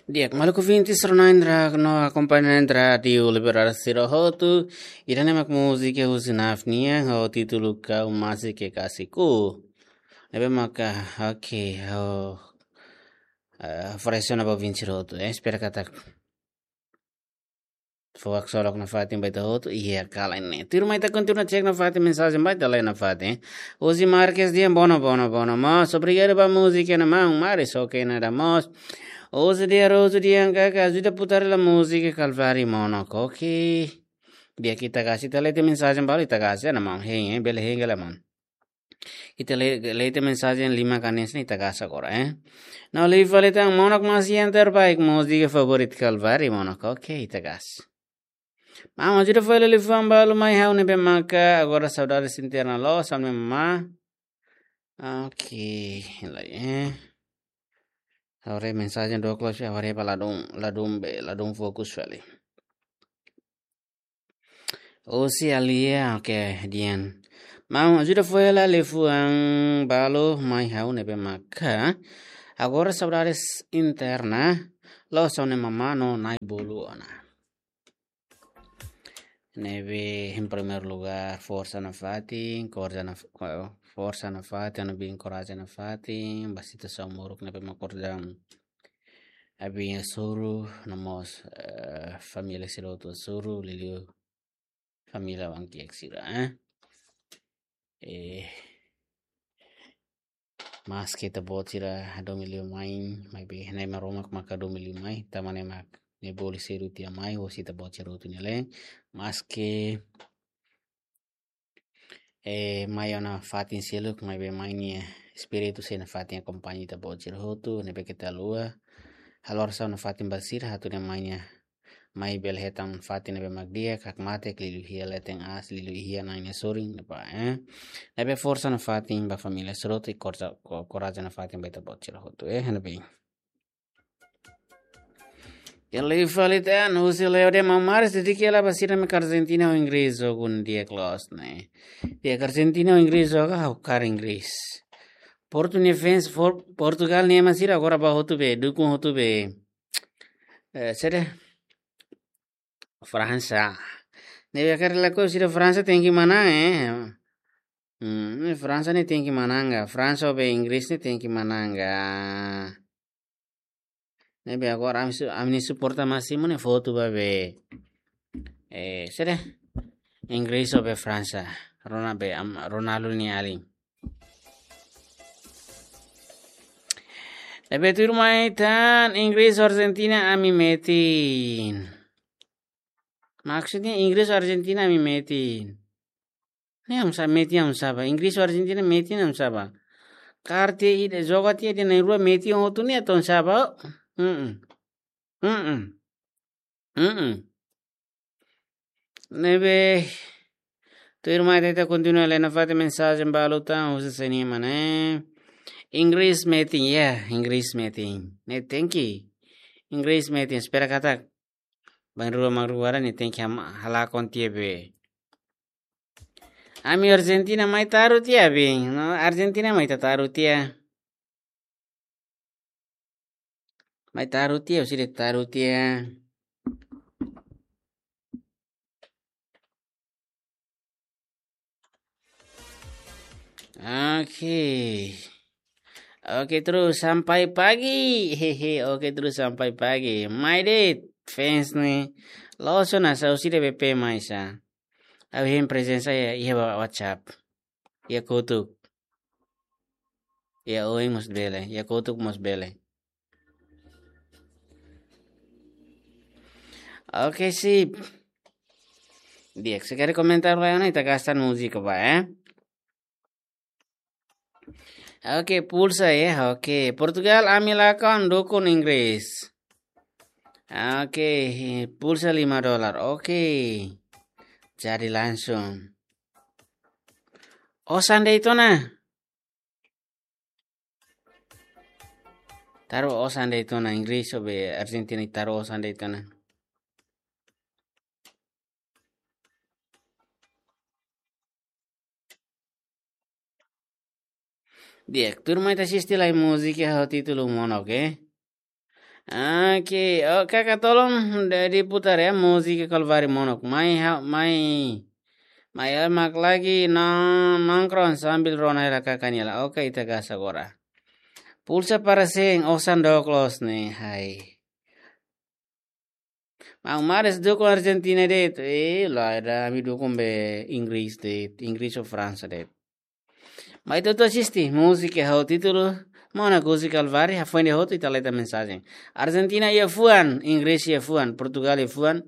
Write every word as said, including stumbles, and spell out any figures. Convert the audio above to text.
Di'ak, maluk ouvinte sira-ne'e no akompañante Rádiu Liberdade sira hotu, ida-ne'e mak múzika husi Naf nian, ho títulu Kau Masih Kekasihku. Ne'ebé maka, oke, ho, eh, oferese ona ba ouvinte sira hotu, eh, espera katak fó haksolok nafatin ba ita hotu, iha kala ne'e. Tuirmai ita kontinua cek nafatin mensajen ba ita lee nafatin. Uzi Marques dehan bono, bono, bono. Mós, obrigadu ba múzika ne'e maun, maris oke nada mós. Uzi dehan Rosu dehan kaka, ajuda putar hela múzika Kalvari Monok, oke. Di'ak, ita kasi, ita lee tiha mensajen balu ita kasi, ne'e maun, hein, eh, bele hein ka lae maun. Ita lee, lee tiha mensajen lima kanes ne'e ita kasi agora, eh. No liu fali tan Monok Masi yang terbaik, múzika favorit Kalvari Monok. Oke, ita kasi. Maun, ajuda fó hela liafuan balu mai ha'u ne'ebé maka agora saudades interna loos, ha'u-nia mamá. Oke, lai, eh. Agora mensajen dook loos, agora ba ladún, ladún be, ladún fokus fali. Osi Alia, oke, dehan. Maun, ajuda fó hela liafuan balu mai ha'u ne'ebé maka agora saudades interna loos, ha'u-nia mamá no na'i-bolu ona. Ne'ebé, em primeiro lugar, forsa nafatin, korja naf-, forsa nafatin, ami-nia korajen nafatin, ba situasaun moruk ne'ebé mak korja ami-nia soru, no mós, eh, família sira hotu soru, liuliu família Wang Kiek sira, eh. Eh, maske ita-boot sira domin liu mai, maibé Na'i Maromak maka domin liu mai, tanba Na'i mak ne'e bolu sedu tiha mai, hosi ita-boot sira hotu nia leet, maske eh, mai ona fatin seluk, maibé mai nia espíritu sei nafatin akompaña ita-boot sira hotu, ne'ebé keta haluha. Halo orasaun nafatin ba sira atu nune'e mai nia, mai bele hetan fatin ne'ebé mak di'ak, hakmatek, liuliu iha leten aas, liuliu iha Na'i nia sorin, ne'ebá, eh. Ne'ebé forsa nafatin ba família sira hotu, i korja, ko-, korajen nafatin ba ita-boot sira hotu, eh, ne'ebé. Iha liu fali tan, husi Leo dehan maun, maris dedika hela ba sira mak Argentina ho Inggris jogu ne'e di'ak loos ne'e. Di'ak, Argentina ho Inggris jogu, ha'u kaer Inggris. Portu nia fans, For-, Portugal nia ema sira agora ba hotu be, dukun hotu be. Eh, saida? Fransa. Ne'ebé karik lakohi sira Fransa tenke manán, eh. Hmm, ne'e Fransa ne'e tenke manán ka. Fransa ho be Inggris ne'e tenke manán ka. Ne'ebé agora ami su-, ami-nia suporta másimu ne'e foto ba be. Eh, saida? Inggris ho be Fransa. Rona be, am, Ronaldo nia alin. Ne'ebé tuirmai tan Inggris Argentina ami metin. Maksudnya Inggris Argentina ami metin. Ne'e ami sa metin ami sá ba. Inggris Argentina metin ami sá ba. Kaer tiha ida, joga tiha ida na'in-rua metin hotu ne'e atu sá ba. Mm-mm. Mm-mm. Mm-mm. Ne'ebé tuirmai ita kontinua lee nafatin mensajen balu tan husi Senima ne'e. Inggris metin, ya, Inggris metin. Ne'e tenke. Inggris metin, espera katak bainrua mak rua ne'e tenke ham-, halakon tiha be. Ami Argentina mai taru tiha be. No, Argentina mai ita taru tiha. Mai taru tiha, husi ida taru tiha. Oke. Oke, terus sampai pagi. Hehe, oke, terus sampai pagi. Mai de'it, fans ne'e. Loos ona sá, husi ida be pe mai sá. Ha'u hein prezensa iha, iha WhatsApp. Iha kotuk. Iha oin mós bele, iha kotuk mós bele. Oke, sip. Di'ak, se karik komentar ba ona, ita gasta múzika ba, eh. Oke, pulsa ya. Oke, Portugal ami lakon, dukun Inggris. Oke, pulsa lima dolar. Oke. Jadi langsung. Osan de'it ona. Taru osan de'it ona, Inggris ho be Argentina taru osan de'it ona. Di'ak, tuirmai ita asiste lai múzika ho títulu Monok, eh. Oke, oh, kaka tolong de, diputar ya múzika Kalvari Monok. Mai, ha, mai. Mai, eh, mak lagi na nongkrong sambil rona hela kaka nia la. Oke, ita gas agora. Pulsa para sen, osan dook loos ne'e, hai. Mau mares dukung Argentina de'it. Eh, lae, ami dukung be Inggris de'it, Inggris ou Fransa de'it. Mai ita atu asiste múzika ho títulu Monok husi Kalvari, hafoin de'it hotu ita leta mensajen. Argentina iha fuan, Inggris iha fuan, Portugal iha fuan,